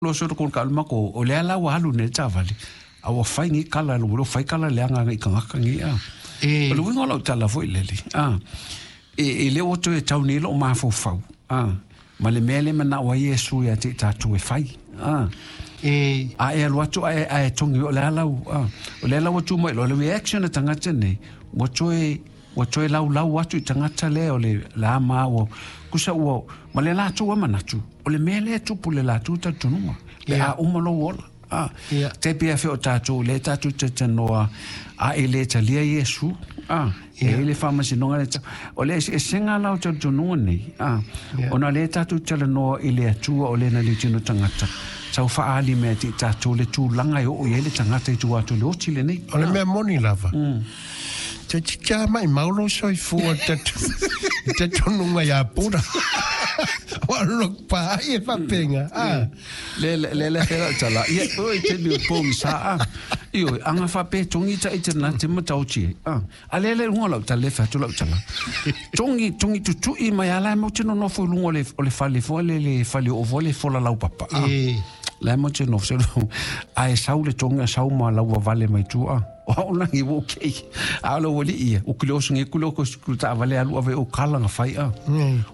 Lo so ko ka ma ko o le ala ua alu nei le taavale a ua fai nei kala ua le fai kala leaga agai i tagata nei a. O le uiga o lau tala foi lele a e le ua toe tau nei lou mafaufau a ma le mea lea e manao ai Iesu ia te i tatou e fai a. A e alu atu ae ae togi o le a lau a o le ala ua tu mai loa le reaction a tagata nei ua toe Ua toe laulau atu i tagata lea o le la ma ua tusa ua ma le latou a manatu, o le mea lea e tupu i le latou talitonuga, pe a uma lou ola. A, tai pei a fea o tatou, lea tatou te talanoa a e le talia Iesu, a, e i ai le faamasinoga lea, o le eseesega la o talitonuga nei, a, ona lea tatou te talanoa i le Atua o le na liutino tagata, tau faaali mea te i tatou le tulaga e oo i ai le tagata i tua atu i le oti lenei. O le mea moni lava, Toeitiiti lava maimau lou soifua i te tonuga ia Pura. Ua look pa ai e faapena. Ah. Le le le fela tala. Ia oi te mi po sa a. Io anga fa pe tongi ta ite na te matau ti. Ah. A le le lunga lau tala le fa tu lau tala. Tongi tongi tutui mai ala mo te no nofo lunga le o le fale fo le le fale o fo le fola lau papa. Ah. La mo te nofo a e sau le tongi a sau ma lau vale mai tua. O au langi ua okay. A o le ua lii ia, u kile oso nge kule o ko sikulu taavale alu ave o kala nga fai a.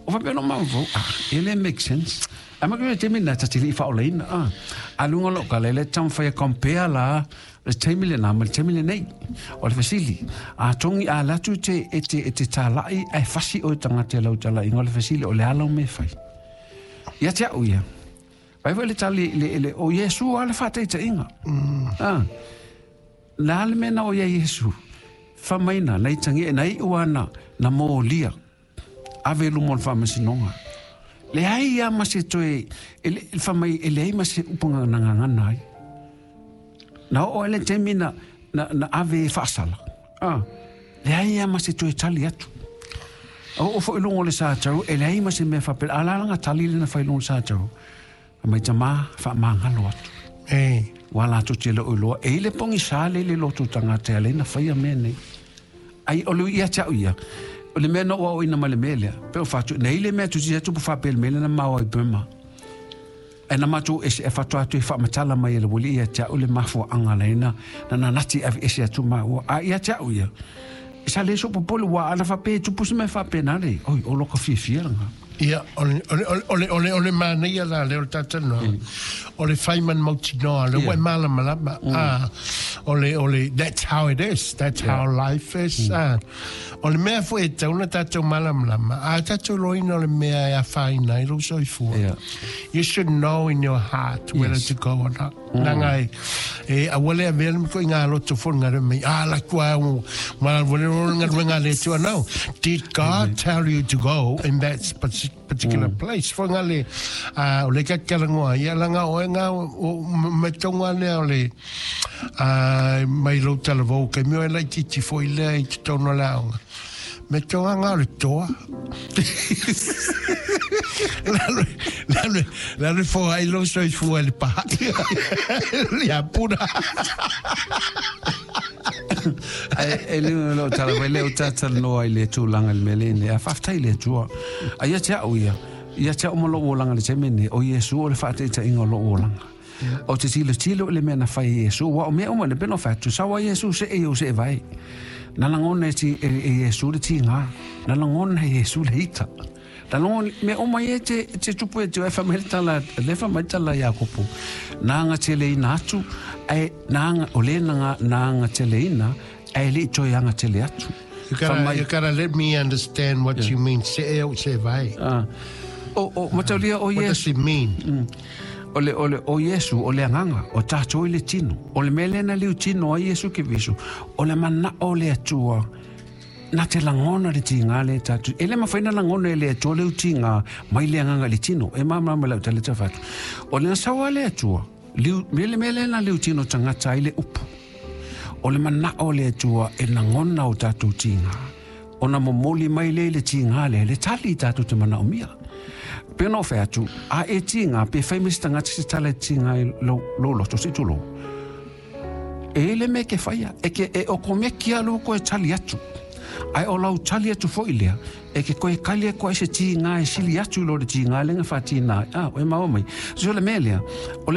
O faapea no maumau, ah, e le make sense. A ma kule taimi na ta te lii whaolaina, ah. A lunga lo kala, le taumafai e compare la le taimi lena ma le taimi lenei. O le fesili, a tongi a latu te e te e te tālai ae fasi oe tagata i lau talaiga, o le fesili, o le a lau mea e fai? Ia te au ia, Vai foi le tali i le, i le, o Iesu a le whātaitaiga. Ah. Nā le mea na o ia Iesu, whamaina, nei tangi, nei iu ana, na mōlia, ave luma o le whaamasinoga. Leai ia ma se toe, e le, whamai, e leai ma se upanga na ngangana ai. Na oo ai le taimi na, na, na ave e whaasala. Ah. Leai ia ma se toe tali atu. A oo foi i luga o le sātau, e leai ma se mea faapena. A la lana tali lea na fai i luga o le sātau, fai mai, Tamā, faamagalo atu. Ua latou te le o iloa, e i le pogisa le i le loto tagata e ala ai ona faia mea nei. Ai, o le ia te au ia, o le mea na ou aoaina mai le mea lea, pe o fatu, nei le mea tusi atu po faapea le mea lea na mao ai Burma. E na matou ese e faatoa atu e faamatala mai e le ualii ia te au le mafuaaga laina na nanati ave ese atu maua. A ia te au ia, e sa le soo popole ua ana faapea e tupu se mea faapena le, oi, o loka fiafia lena. Ia, o le, o le, o le, o le, o le manaia la lea o le talanoaga, o le fai ma le mautinoa, o lea ua e malamalama, a, o le, o le, that's how it is, that's how life is, a. O le mea foi e tatau ona tatou malamalama, a tatou iloaina o le mea e afaina ai lou soifua, yeah. You should know in your heart whether to go or not. Nanga e, e aua le avea le miko i ngā loto fo ngā mai, ah, la kua au, ma wale ro ngā ruenga le tua. No, did God tell you to go in that particular place? Fo ngā le, o le kakarangoa, ia langa o e ngā, o, me tonga lea o le, Ā, mai lou talavou, kei mea e laitiiti foi lea i totonu o le aoga. Me tō anga o le toa. Lalo, lalo, lalo fo ai lou soifua i le pahai. Ia puna. Ai, e le o tala mai le o talanoa i le tulaga i le mea lenei. A faafetai i le Atua. A ia te au ia, ia te au ma lou olaga i le taimi lenei, o Iesu o le faataitaiga o lou olaga. O te tilotilo i le mea na fai e Iesu, ua o mea uma le pena o fai atu, sau ai Iesu see i ou see vai. Na lagona e, ti, e, e Iesu le tīngā, na lagona e Iesu le ita. Na lagona, mea uma ia te, te tupu e te e whamai le tala, le whamai tala Iakopo. Nā nga tele ina atu, e, nā nga, o le nā nga, nā nga tele ina, e li toi anga tele atu. You gotta, you gotta let me understand what you mean. Se e o se vai. O, o, mataulia o What does it mean? O le, o le, o Iesu, o le agaga, o tatou i le tino. O le mea lea na liutino ai Iesu Keriso, o le manao o le Atua, na te lagona le tiga lea e tatou. E le mafai ona lagona e le Atua le utiga mai le agaga i le tino. E malamalama i lau tala tau fai atu. O le nasau a le Atua, liu, me le mea lea na liutino tagata ai le upu. O le manao o le Atua e lagona o tatou tiga. Ona momoli mai lea i le tiga lea, le tali i tatou te manaomia. Pei ona ou fai atu, a e tiga, pe fai mai se tagata se tala e tiga ai lou, lou loto, se i tulou. E i le mea e ke faia, e ke, e okomeki a lou koe tali atu. Ae o lau tali atu foi lea, e ke koe kali atu ai se tiga e sili atu i lo le tiga lea na faatigā ai. A, ua e maua mai? So o le mea lea, o le